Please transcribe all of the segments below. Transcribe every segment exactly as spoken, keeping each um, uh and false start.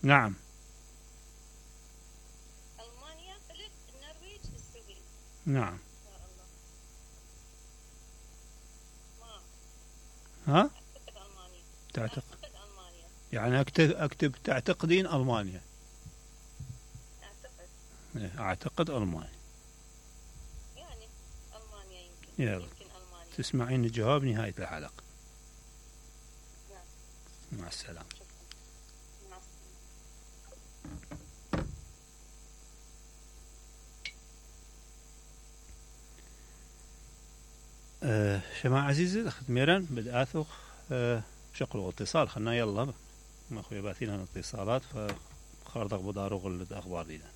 نعم. ألمانيا، بلد النرويج، السويد. نعم. يا الله. ما ها؟ أعتقد ألمانيا. تعتقد أعتقد ألمانيا. يعني اكتب اكتب تعتقدين المانيا؟ أعتقد. إيه، اعتقد المانيا. يعني ألمانيا يمكن. يلا. يمكن ألمانيا. تسمعين الجواب نهاية الحلقة. نعم. مع السلامة. شكرا. مع السلامة. أه شماعة عزيزي أخذ ميران بدأثو أه شقلو اتصال خلنا يلا ما أخويا باثين اتصالات فخاردق بدارو غلد أخبار دينا.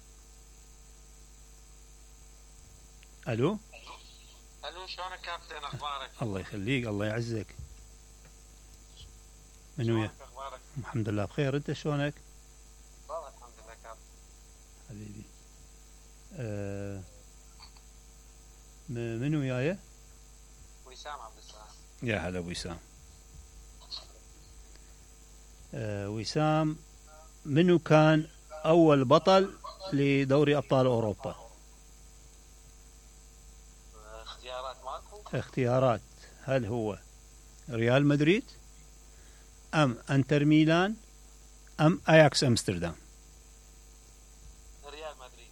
ألو. الو شلونك كابتن اخبارك؟ الله يخليك الله يعزك. من ويا؟ شلونك اخبارك؟ الحمد لله بخير. انت شلونك؟ والله الحمد لله كابتن. حبيبي. أه من وياي؟ وسام عبد السلام. يا هلا وسام. أه وسام، منو كان أول بطل لدوري أبطال أوروبا؟ اختيارات ماكو؟ اختيارات: هل هو ريال مدريد أم أنتر ميلان أم أياكس أمستردام؟ ريال مدريد.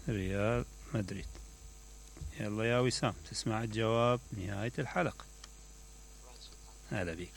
ريال مدريد. يلا يا وسام تسمع الجواب نهاية الحلقة. هلا بيك.